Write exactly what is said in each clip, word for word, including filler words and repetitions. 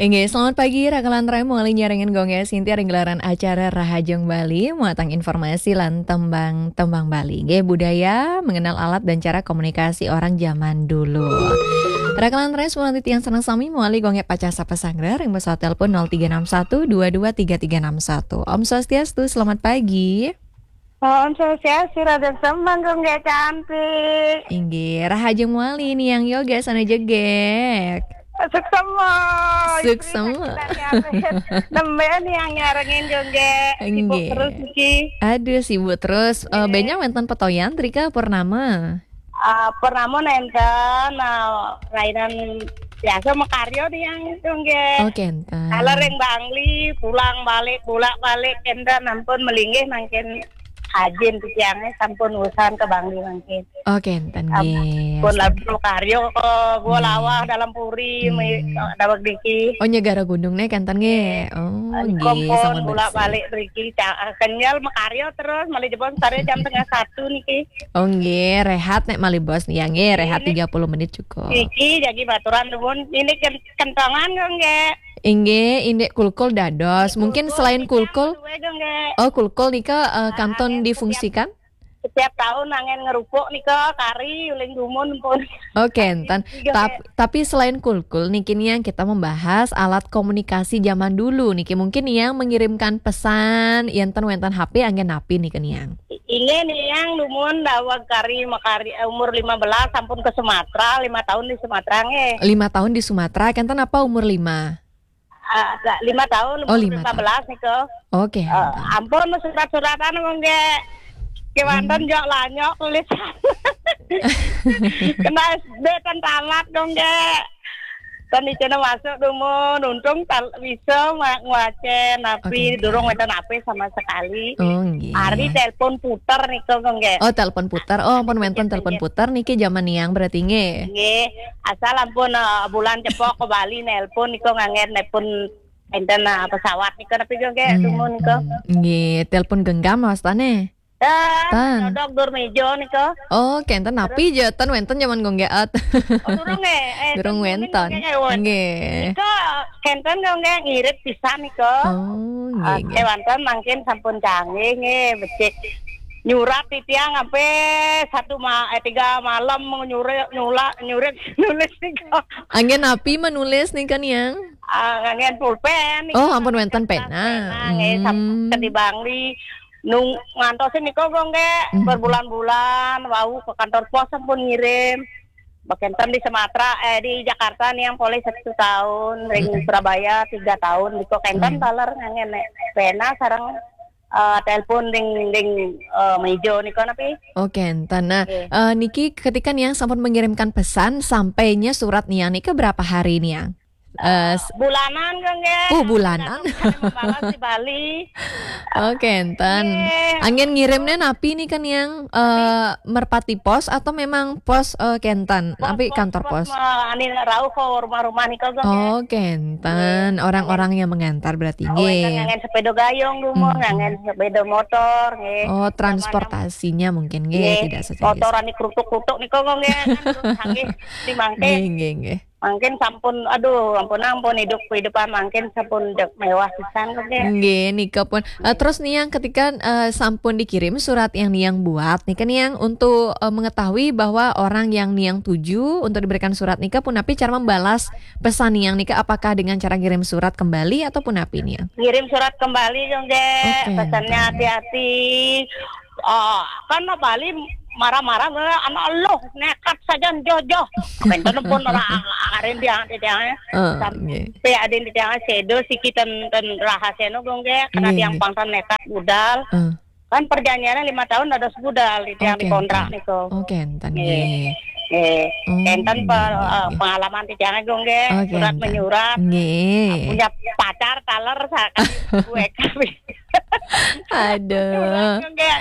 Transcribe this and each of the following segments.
Inggih, selamat pagi, Raka lan Rai, mawali nyarengin Gung Gek Sinti ring gelaran acara Rahajeng Bali, muatang informasi lan tembang-tembang Bali. Inggih, budaya, mengenal alat dan cara komunikasi orang zaman dulu. Raka lan Rai, semoga titiang sareng sami mawali Gung Gek pacah sapa sanggra ring pesawat telepon nol tiga enam satu dua dua tiga tiga enam satu. Om Swastiastu, selamat pagi. Om Swastiastu, Raden Semang, Gung Gek cantik. Inggih, Rahajeng mawali Niang Yoga sané jegég. Suksma. Suksma. Nembé Niang nyarengin, Gung Gek. Sibuk Inggih. Terus niki. Aduh, sibuk terus. Eh, Inggih. Bénjang wénten petoyan, Trika Purnama. Ah, Purnama nénten, ah, rainan biasa makarya Niang, Gung Gek. Oh, kénten. Kala ring Bangli, pulang balik, bolak-balik, kénten ampun malinggih mangkin ajin titiangé sampun usan ka Bangli mangkin. Oh, kénten, nggih. Ampun, astaga. Lalu karya ka Gua Hmm. Lawah, Dalem Puri, Hmm. mi-, daweg niki. Oh, Nyegara Gunung né kénten, nggih. Nggih. Oh, nggih, sampun bolak-balik mriki, ca-, kenyel makarya terus, malih jebos karya jam setengah satu niki. Oh, nggih, rehat nek malih bos nih, ya, nggih, rehat Ini tiga puluh menit cukup. Niki jagi baturan nuwun, ini ken-, kentongan kok, nggih. Inggih, indik kulkul dados. Mungkin kulkul selain nika kulkul, luwih, nggih. Oh, kulkul nika, eh, Ah, kantun nggih, setiap difungsikan? Setiap tahun angin ngerupuk nika kari uling dumun pun. Oh, kénten. Iya, tap-, nggih. Tapi selain kulkul niki Niang kita membahas alat komunikasi zaman dulu niki. Mungkin Niang mengirimkan pesan, yén ten wénten H P anggén napi niki Niang? I-, inggih Niang dumun daweg kari makari, eh, umur lima belas sampun ke Sumatera, lima tahun di Sumatera nggih. Lima tahun di Sumatera, kénten apa umur lima? Ah, lima tahun, oh, umur lima tahun. Lima belas nika. Oke. Eh, ampun, surat-suratan, Gung Gek. Kéwanten, hmm, jok lanyok tulisan. Kena S D ten tamat, Gung Gek. Ten icena masuk dumun, untung tal-, bisa ma-, ngwacén, napi, oke, durung wénten H P sama sekali. Oh, nggih. Ari telepon puter nika, Gung Gek. Oh, telepon puter. Oh, ampun wénten telepon puter niki jaman Niang berarti nggih. Nggih. Asal ampun, eh, bulan cepok ke Bali nelpon nika nganggén nelpon enten, eh, pesawat nika napi nggih, hmm, dumun nika. Hmm. Nggih, telepon genggam wastane? Eh, tan. Nyodok dur meja nika. Oh, kénten napi ja ten wénten jaman Gung Gek. Oh, durung nggih. Eh, durung ten wénten. Nggih. Nika kénten nggih ngirit pisan nika. Oh, nggih, ah, nggih. Kéwanten mangkin sampun canggih nggih, becik. Nyurat titiang sampai satu ma-, eh, tiga malam nyurit, nyula-, nyurit, nulis nika. Anggén napi menulis nika, Niang? Ah, nganggén pulpen nika. Oh, ampun wénten pena. Pena, nggih, sam-, hmm, teng di Bangli. Nung-, ngantosin nika, Gung Gek, hmm, berbulan-bulan, wau ke kantor pos sampun ngirim. Bakénten di Sumatera, eh, di Jakarta Niang polih satu tahun, ring, hmm, Surabaya tiga tahun, nika kénten, hmm, taler nganggén pena sareng eh, telepon ring, ring, eh, meja nika napi? Oh, kénten. Nah, nggih, eh, niki ketika Niang sampun mengirimkan pesan, sampainya surat Niang nika berapa hari, Niang? Eh, eh, s-, bulanan, Gung Gek. Oh, bulanan. Kadang membalas di Bali. Oh, kénten. Nggih. Anggén ngirimnya napi nika Niang? Eh, merpati pos atau memang pos, eh, kénten? Pos, napi pos, kantor pos, pos? Ma-, ani rauh ke rumah-rumah nika, Gung Gek. Oh, kénten. Nggih. Orang-orang yang mengantar berarti, oh, nggih. Nganggén sepeda gayung dumun, hmm, nganggén sepeda motor, nggih. Oh, transportasinya mungkin, nggih, nggih, tidak sejenis. Motor ani krutuk-krutuk nika, Gung Gek, kan, terus canggih di mangkin. Nggih, nggih, nggih. Mangkin sampun, aduh, ampun, ampun, hidup, kehidupan mangkin sampun jek mewah pisan, Gung Gek. Nggih, nika pun. Eh, terus Niang ketika, eh, sampun dikirim surat yang Niang buat, nika Niang untuk, eh, mengetahui bahwa orang yang Niang tuju untuk diberikan surat nika pun napi cara membalas pesan Niang nika, apakah dengan cara ngirim surat kembali ataupun napi Niang? Ngirim surat kembali, Gung Gek. Oke, pesannya oke. Hati-hati. Oh, kan Bali marah-marah, anak loh, nekat saja jojoh. Kénten pun ora arin tiang, tiang. Eh, sampai nggih. Ada tiang sedo siki ten, ten rahasia no, Gung Gek. Kena nggih, tiang nggih. Pangsan nekat budal. Eh. Kan perjanjiannya lima tahun ada sebudal di tiang, oke, dikontrak enten. Niku. Oh, kénten, nggih, nggih. Nggih. Oh, kénten nggih, per-, nggih, eh, nggih. Pengalaman di tiang, Gung Gek. Oh, surat kénten. Menyurat. Nggih. Punya pacar taler sakali gue kami. Aduh. Nggih.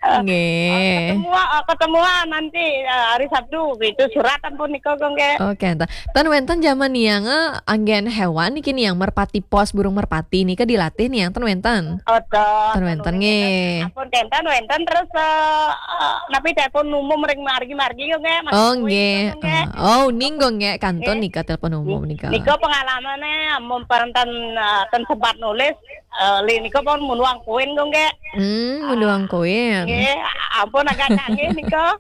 Nggih. Ketemu, eh, ketemuan nanti, eh, hari Sabtu gitu. Surat ampun nika, nggih. Oke, enten. Ten wenten jaman niang, eh, anggen hewan niki niang merpati pos burung merpati nika dilatih niang ten wenten. Oh, ten. Ten wenten, nggih. Ampun, ten wenten terus, eh, eh, napi telepon umum ring margi-margi, nggih, Mas. Oh, nggih. Nggih. Eh, oh, ning, nggih, kantun nika telepon umum nika. Nika pengalamannya ampun, ten, eh, ten sempat nulis, eh, li nika pun munduang koin, nggih. Hmm, munduang koin. Nggih, ampun agak canggih nika.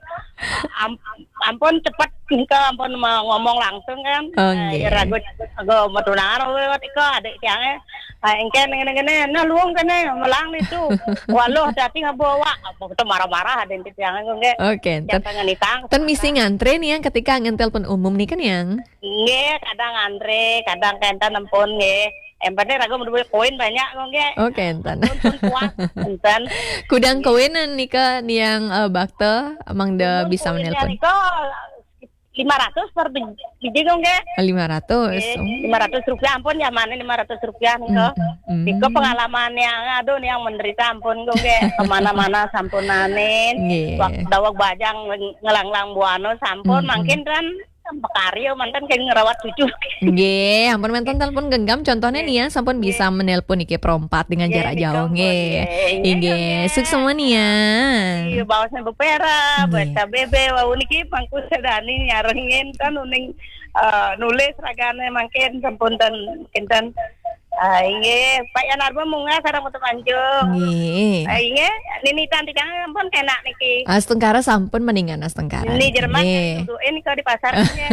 Am-, ampun cepet nika, ampun me-, ngomong langsung kan. Oh, eh, nggih. Ragu, ragu metunangan, oh, nika adik tiangnya. Ah, engke ngene-ngene, nah, luung kene, melang itu. Waluh, dadi ngabawa. Apa kita marah-marah ada yang tiangnya, nggih. Oke, enten. Jangan nitang. Ten misi ngantre niang ketika anggen telepon umum nika niang. Nggih, kadang antre, kadang kenten ampun, nggih. Yang penting ragu menduwe koin banyak, nggih. Oke, enten. Pun, pun kuat, enten. Kudang koin nika niang, eh, bakte, mangda bisa menelpon. Nika lima ratus per bij-, biji, nggih. Lima ratus. Nggih, oh. Lima ratus rupiah ampun, ya, mana lima ratus rupiah nika. Hmm, hmm, hmm. Nika pengalaman yang, aduh, yang menderita ampun, nggih. Kemana-mana sampunanin. Nggih. Wak-, daweg bajang ngelanglang buana sampun, hmm, hmm, mangkin kan makarya manten kaya ngrawat cucu. Nggih, ampun manten telepon genggam, contohnya nih ya, sampun bisa menelpon iki perompat dengan jarak jauh, nggih. Nggih, nggih, nggih. Suksma nih ya. Iya, baosnya bepera, nggih, baca bebe, wau niki mangku sedani nyarengin kan uning, eh, nulis ragane mangkin sampun ten, kinten. Ah, inggih, Pak Yanarba munggah sareng Putu Manjung. Nggih. Ah, inggih, ninitan tigang ampun enak niki. Astungkara sampun mendingan astungkara. Ini Jerman nggih. Duduke nika di pasar nggih.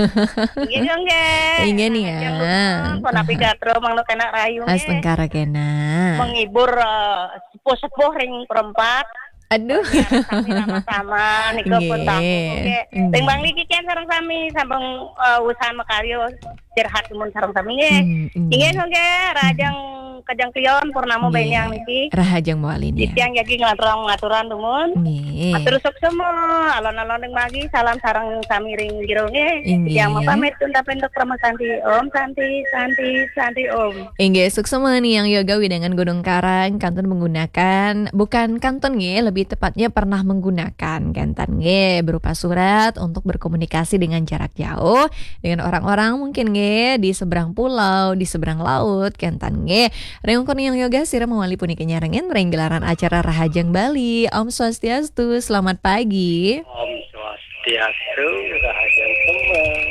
Inggih, nggih. Inggih nih ya. Jangan lupa, pun api gatro, mangno kena rayu nggih. Astungkara kena. Menghibur, eh, sepuh-sepuh ring perempat. Aduh. Biar sami sama-sama, nika pun nggih. Tamu, nggih. Nggih. Timbang niki kan sareng sami, sambung, eh, usaha makaryo, curhat dumun sareng sami, nggih. Hmm, hmm. Inggih, nggih, rahajeng kajeng klion, purnama nggih. Benyang niki. Rahajeng mawali nih. Titiang jagi nglanturang ngaturan dumun. Nggih. Atur suksma, alon-alon ring magi, salam sareng sami ring jero, nggih. Inggih. Titiang mapamit, untapi untuk Parama Santi. Om Santi, Santi, Santi, Om. Inggih, suksma niang yoga wewidangan Gunung Karang, kantun menggunakan, bukan kantun nggih, lebih tepatnya pernah menggunakan kenten nggih, berupa surat untuk berkomunikasi dengan jarak jauh dengan orang-orang mungkin nggih, di seberang pulau, di seberang laut, kenten nggih. Ring ukur niang yoga, sira mawali punika nyarengin ring gelaran acara Rahajeng Bali. Om Swastiastu, selamat pagi. Om Swastiastu. Swastiastu, Rahajeng Semeng.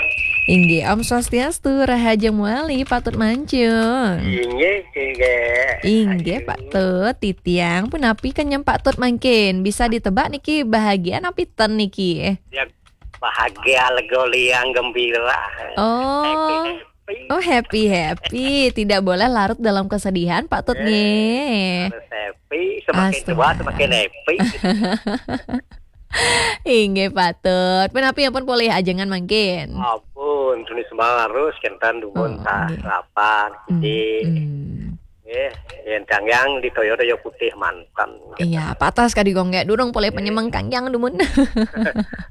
Inggih, Om Swastiastu, Rahajeng Wali, Patut Mancung. Inggih, inggih. Inggih, Patut, titiang, punapi kenyem Patut mangkin? Bisa ditebak niki bahagia napi ten niki? Ya, bahagia, lega, liang, gembira. Oh. Happy, happy. Oh, happy, happy. Tidak boleh larut dalam kesedihan, Patut, eh, nggih. Harus happy, semakin tua, astaga, semakin happy. Inggih, Patut. Punapi ampun polih ajengan mangkin? Ampun, tuni sembarus, kenten dumun, oh, nggih. Sarapan, hmm, nggih. Hmm. Nggih, yen kangkang di toyo-toyo putih manten. Iya, patas kadi gong nggih, durung polih penyemeng kangkang dumun.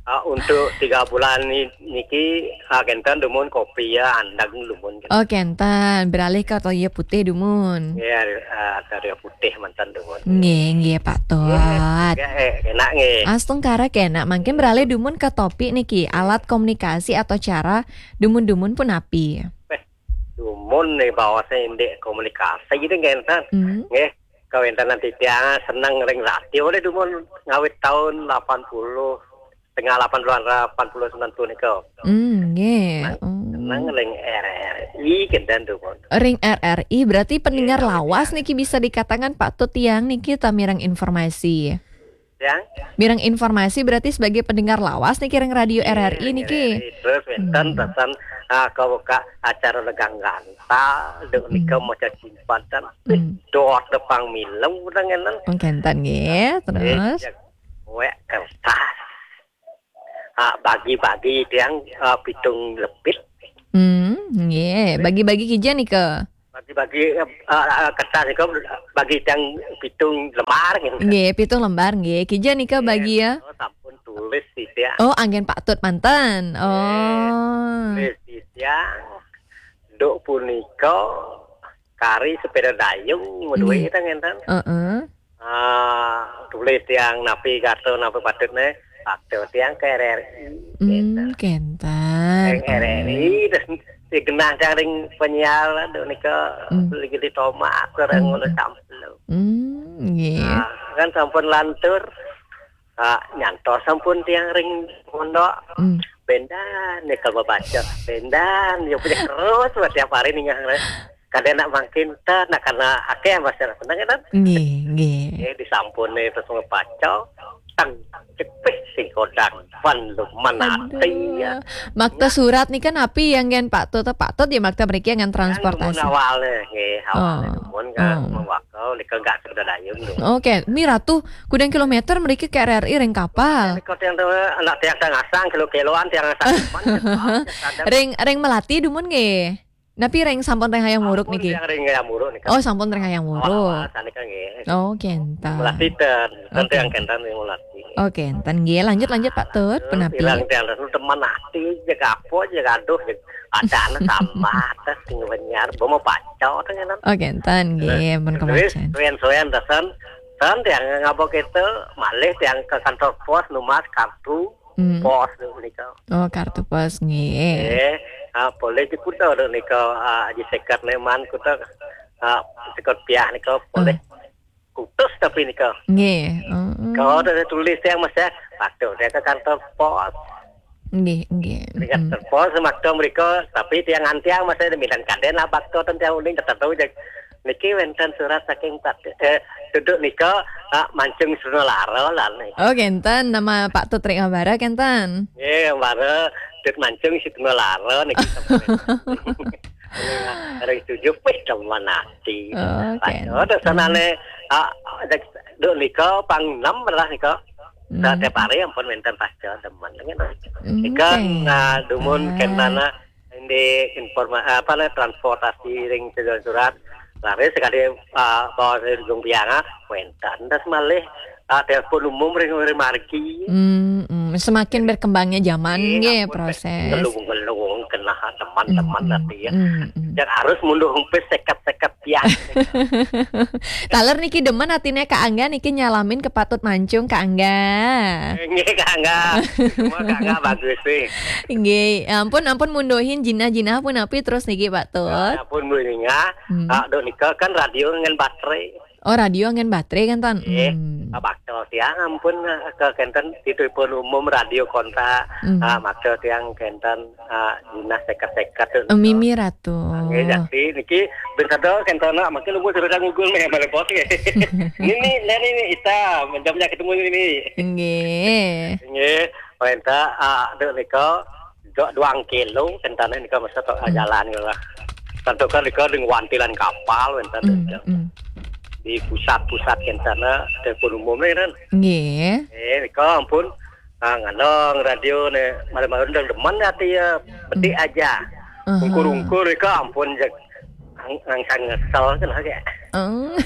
Ah, untuk tiga bulan ni-, niki, ah, kenten dumun kopi ya, andang dumun. Oh, kenten, beralih ke toyo putih dumun. Iya, ah, toyo putih manten dumun. Nggih, nggih, Patut. Nggih, eh, enak nggih. Astungkara kena, mangkin beralih dumun ke topik niki, alat komunikasi atau cara dumun-dumun punapi? Eh, dumun nih, bahasa indik komunikasi gitu, nggih, enten. Hmm. Nggih, kawéntenan titiang seneng ring radio oleh dumun ngawit tahun delapan puluh, setengah delapan puluh, delapan puluh sembilan puluh nika. Hmm, nggih. Seneng, oh, seneng ring R R I kenten dumun. Ring R R I, berarti pendengar lawas niki bisa dikatakan Patut tiang niki tamirang informasi. Ya. Mireng informasi berarti sebagai pendengar lawas niki ring radio R R I niki. Iya, R R I. Terus wénten, hmm, pesan, ah, kawéka acara Legang Gantal, duk nika, hmm, maca cimpatan. Hmm. Dot depang milu udah ngenen. Oh, kenten nggih, terus? Wék kertas. Ah, bagi-bagi tiang, ah, pitung lepit. Hmm, nggih, bagi-bagi kija nika? Bagi-bagi, eh, eh, kertas niku bagi tiyang pitung lembar, gitu. Nggih, pitung lembar, nggih. Kija nika bagi, ya? Oh, sampun tulis sithik. Oh, anggen Pak Tut manten. Nggih, oh, tulis sithik. Duk punika, kari sepeda dayung, nggih, ta ngenten. Heeh. Ah, tulis tiang napi kata, napi patutne, waktu tiang ke R R I, hmm, ngenten. Kenten. Yang R R I, terus digenah tiang ring penyiar, aduh, nika, hmm, lagi di tomat, orang, hmm, ngono campur. Hmm, nggih. Nah, kan sampun lantur, ah, nyantos sampun tiang ring mondok. Hmm. Bendan nika mabaca, bendan, ya punya terus, tiap hari nih, kadang nak mangkin ta, nak karena akeh masyarakat, kan? Nggih, nggih. Nggih, disampun nih terus mabaca, tang, cepih sing kodang, pan luman ati, ya. Aduh. Makta surat nih kan api yang gen Pak Tut, Pak Tut ya makta mriki yang transportasi. Kan awalnya, nggih, awalnya. Oh. Mun kan, oh, mawakal, nika nggak sudah dayung, nggih. Oke, mi ratu, kudang kilometer mriki ke R R I ring kapal. Nika tiang tuh, anak tiang tang asang, kilo-kiloan tiang asang, man, ring, ring Melati dumun nggih. Napi ring sampun ring Hayam Wuruk niki? Sampun ring Hayam Wuruk niki. Oh, sampun ring Hayam Wuruk. Awal-awal sanika nggih. Oh, kenten. Melati ten, ten, oke, yang kenten yang Melati. Oh, kenten nggih. Lanjut, lanjut, Pak Tut, punapi? Bilang tiang ten teman ati, jaga apa, jaga aduh, jaga ada anak tambah, tas tinggal penyiar, bawa pacar, kan? Oh, kenten nggih, pun kemacan. Suwen-suwen, tasan, ten tiang ngapa kita, malih tiang ke kantor pos, numas kartu, hmm, pos nika. Oh, kartu pos nggih. Eh, ah, boleh di kuda nika, ah, di sekat neman kuda, ah, sekat piah nika boleh. Hmm. Kutus tapi nika. Nggih. Hmm. Kalau ada tulis yang masih, waktu dia ke kantor pos. Nggih, nggih. Di kantor pos, waktu mereka, tapi tiang antiang masih ada minat kaden lah, waktu tentang uling, tetap tahu, niki wenten surat saking Pak, eh, duduk nika, ah, Mancung Sunolara lah nih. Oh, kenten, nama Pak Tut ring Ambara kenten. Nggih, Ambara, Tut Mancung Sunolara niki. Hari tujuh, wih, teman ati. Oh, oke. Ada sanane, ah, duduk nika pang enam lah nika. Hmm. Setiap hari ampun wenten pasca teman. Hmm, nika, oke. Nah, dumun, ah, kentana, di informa-, apa nih, transportasi ring surat-surat. Lari sekali, ah, bawa dari Ujung Pianga, wenten. Terus malih, ah, telepon umum ring, ring margi. Hmm, hmm. Semakin berkembangnya zaman, nggih, nggih, ampun, proses. Ngelung-ngelung kena teman-teman, hmm, nanti ya. Hmm, hmm. Dan harus mundur umpis seket-seket pian. Taler niki demen atine Kak Angga niki nyalamin ke Pak Tut Mancung, Kak Angga. Nggih, Kak Angga. Semua Kak Angga bagus sih. Nggih, ampun, ampun munduhin jinah-jinah punapi terus niki, Pak Tut. Ya, ampun, Bu Ninga. Hmm. Ah, dok nika kan radio ngen baterai. Oh, radio ngen baterai kan, Ton? Nggih. Hmm. Ah, bakal tiang ampun, ah, ke kenten di telepon umum radio kontak. Hmm. Ah, maksa tiang kenten, ah, jinah seket-seket tu. Eh, mimi ratu. Nggih, jadi niki ben sada kenten nak makin umur sudah ngugul meh balik bos nggih. Ini, ini, ini, ini, ita, jam-jam ketemu ini. Nggih. Nggih, perintah, ah, dek nika, dua, dua kilo, kentana nika masa tok, hmm, jalan lah. Tentu kan nika dengan wantilan kapal, kentana. Hmm, hmm. Di pusat-pusat kentana, telepon umum ni kan. Nggih. Eh, nika ampun, ah, ngalong radio ni, malam-malam dah demen hati ya, bedik, hmm, aja. Aha. Ungkur-ungkur nika ampun, jak, ang-, angsang ngesel kan, kayak. Oh.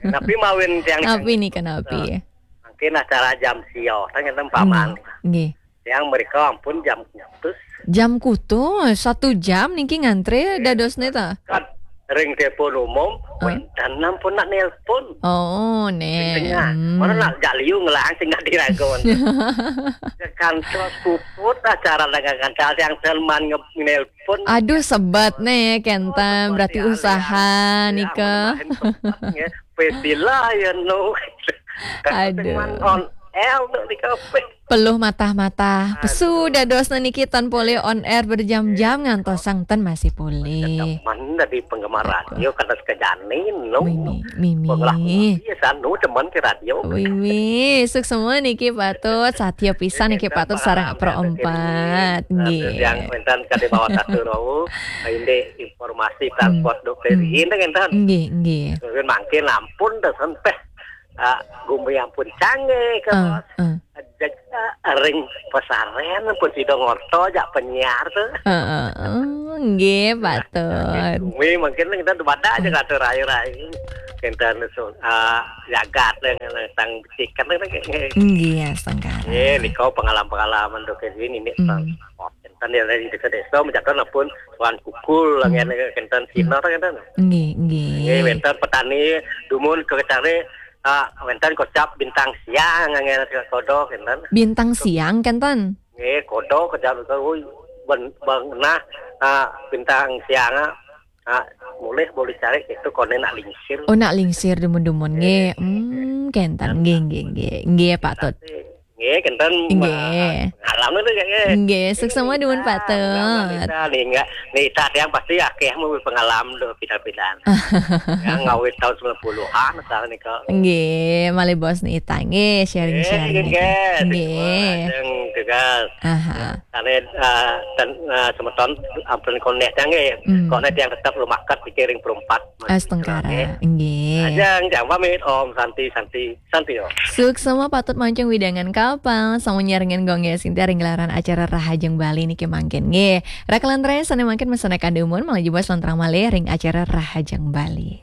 Tapi mawin tiang. Tapi nika napi? Mungkin acara jam sio, tanya tempat. Nggih, paman. Nggih. Yang mereka ampun jam kutus. Jam kutus, satu jam niki ngantre, nggih, dados neta. Kan ring telepon umum, ah, wenten ampun nak nelpon. Oh, ne. Tengah. Hmm. Mana nak jak liu ngelang sing nggak diragon. Ke kantor puput acara dengan kantor yang teman nge-, nelpon. Aduh, sebet ne, kenten. Oh, berarti usaha ya, nika. Mana main tempat, ya. Pestila ya, no. Aduh. Cuman on air tu di kafe. Peluh matah-matah. Aduh. Pesu dadosna niki tan polih on air berjam-jam ngantos sang ten masih polih. Teman dari penggemar radio kata sekejani, no. Mimi, mimi. Pengelah kopi ya, sanu teman ke radio. Mimi, suksma niki Pak Tut, satya pisan niki Pak Tut sareng Pro Empat. Nggih. Yang wenten kade bawa satu rowu, ini informasi transport dokter ini kan, tan. Nggih, nggih. Mungkin mangkin ampun dah sampai, ah, gumi ampun canggih ke, ah, bos. Ah. Ring pesaren pun sida ngorta jak penyiar tu. Heeh, nggih, patut. Kuwi mungkin kita badak aja kata rai-rai. Kita nusu, ah, jagat dengan sang becik kan, kan, kan. Nggih, ya, sengkara. Eh, nika pengalaman-pengalaman tu ke sini ni, hmm, transport. Tani dari desa-desa mencatat pun Tuan Kukul, hmm, angin kenten Cina, hmm, kenten. Nggih, nggih. Nggih, wenten petani dumun kecari, ah, wenten kocap Bintang Siang, angin kodo kenten. Bintang Siang kenten. Nggih, kodo kecap, ui, ben, ben, nah, ah, Bintang Siang, ah, ah, mulih boleh cari itu koné nak lingsir. Oh, nak lingsir dumun-dumun nggih. Nggih. Hmm, kenten. Nggih, nggih, nggih. Nggih, patut. Nggih, kenten. Nggih. Alam itu nggih. Nggih, suksma dumun patut. Nita, nih, enggak, Nita tiang pasti akeh mau pengalaman lho, beda-beda. Yang ngawit tahun sembilan puluhan, misalnya nih, kok. Nggih, malih bos Nita. Nggih, sharing-sharing nggih, nggih. Nggih. Lajeng tugas. Aha. Karena, eh, dan, eh, semeton ampun konek tiang nggih. Hmm. Konek tiang tetap lumakat dikiring perempat. Astungkara. Nggih. Lajeng, jam pamit, Om Santi, Santi. Santi, yo. Suksma patut mancung widangan kapal, sampun nyarengin Gung Yés Sinta ring gelaran acara Rahajeng Bali niki mangkin. Nggih, rakelan raya sané mangkin mesana kadumun, malih jebos lantrang malih ring acara Rahajeng Bali.